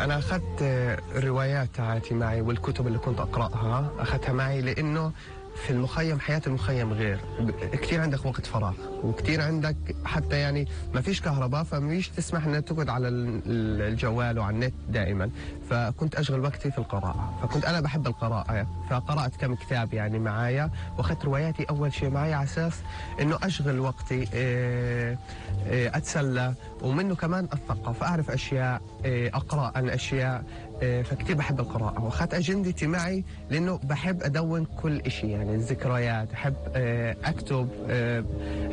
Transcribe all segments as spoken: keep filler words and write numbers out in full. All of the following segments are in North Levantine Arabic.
أنا أخذت الروايات تاعتي معي والكتب اللي كنت أقرأها أخذتها معي، لأنه في المخيم حياة المخيم غير، كثير عندك وقت فراغ وكثير عندك حتى يعني ما فيش كهرباء، فمش تسمح انك تقعد على الجوال وعلى النت دائما، فكنت اشغل وقتي في القراءة، فكنت انا بحب القراءة، فقرأت كم كتاب يعني معايا، واخذت رواياتي اول شيء معي على اساس انه اشغل وقتي، اتسلى، ومنه كمان اتثقف، اعرف اشياء، اقرأ عن اشياء، فكتير بحب القراءة. واخذت أجندتي معي لأنه بحب أدون كل شيء، يعني الذكريات، أحب أكتب،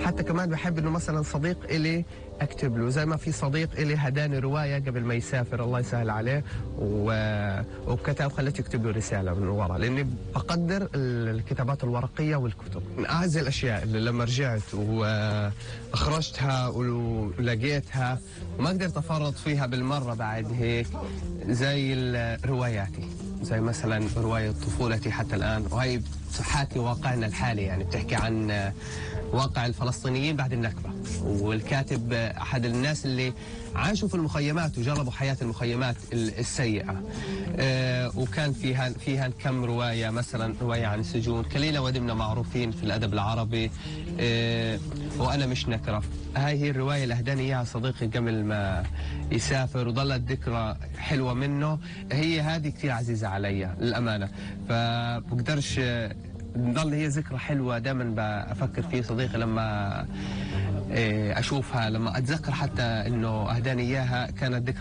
حتى كمان بحب إنه مثلا صديق إلي أكتب له، زي ما في صديق إلي هداني رواية قبل ما يسافر الله يسهل عليه، وكتب خليته يكتب له رسالة من ورا، لأني بقدر الكتابات الورقية والكتب. من أعز الأشياء اللي لما رجعت وأخرجتها ولقيتها وما قدرت أفرط فيها بالمرة بعد هيك، زي رواياتي، زي مثلا رواية طفولتي حتى الآن، وهي تحاكي واقعنا الحالي، يعني بتحكي عن واقع الفلسطينيين بعد النكبة، والكاتب أحد الناس اللي عاشوا في المخيمات وجربوا حياة المخيمات السيئة، أه وكان فيها فيها كم رواية، مثلا رواية عن السجون، كليلة ودمنة معروفين في الأدب العربي، أه وأنا مش نكرة. هاي هي الرواية اللي أهداني إياها صديقي قبل ما يسافر، وظلت ذكرى حلوة منه، هي هذه كثير عزيزة علي للأمانة، فبقدرش تضل هي ذكرى حلوة دائما بفكر فيه صديقي لما أشوفها، لما أتذكر حتى إنه أهداني إياها، كانت ذكرى